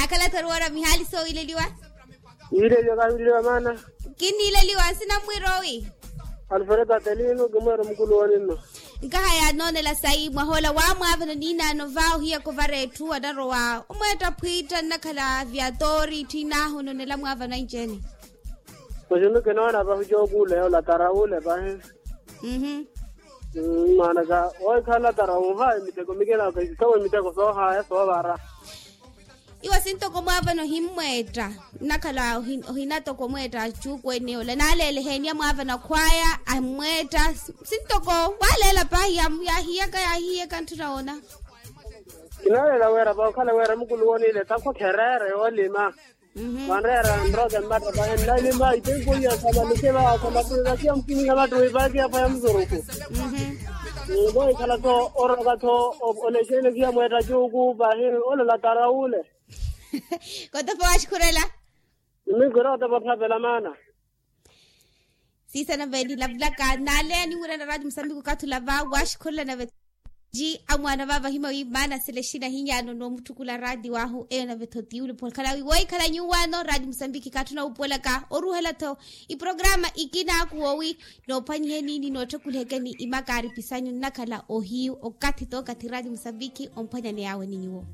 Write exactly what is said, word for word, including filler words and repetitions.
Akhala tharuwara mihaali soowiileliwa. Yiileliwa kahiwileliwa maana. Kinniileliwa nsina mmwiiroowi. Alfredo atelino kimweera omukulu woninno. Nkaha yaanoonela sayi mwahoola waamwaavano niinaano va ohiyaka ovara etthu anarowa omweetta phwiitta nnakhala viatoori itthiinaahu onoonela mwaavano anci-ene. Masi nno kinoona pahi jookuule olatara ule pahi. Mmaanaka wohikhala tara woohaya emiteko mikina okahisisawe emiteko soohaya soovara. Iwo sintoko mwaavana ohimmweetta nnakhala ohinatoko omweetta achuuku ene ola naaleela eheeni ya mwaavana khwaya ammweetta. Sintoko waaleela pahi yaahiyaka yaahiyaka ntthuna woona. Kinaaleela weera pahi okhala weera mukulu wooniile takhwa khereere yoolima. Vanreera nroke mmatta pahi nnalima itempo iya samalukela samattuwi vakiya mukimiha mattuwi vakiya phaya musuruku. Vohikhala-tho oroka-tho olexeene viya mweetta cuuku pahi olola tara ule. Kotopa waxukhurela. Niminkhwira otopa othapela maana. Siisana venilavulaka naaleya ninwirana raati musambiki okathi olava waxukhurela nave. Ji amwaana vaava ohima wi maana sila exina ahinyaano noomutthukula raati wahu eyo nave-tho tiwulupula okhala wi wohikhala nyuwaano raati musambiki kaatthuna wuupuwelaka oruhela-tho iprograma ikina akuwo wi noophwanyiheni ni nootthukulihekeni imakaaripisanyu nnakhala ohiyu okathi-tho okathi raati musambiki omphwanyaneyaawe ni nyuwo.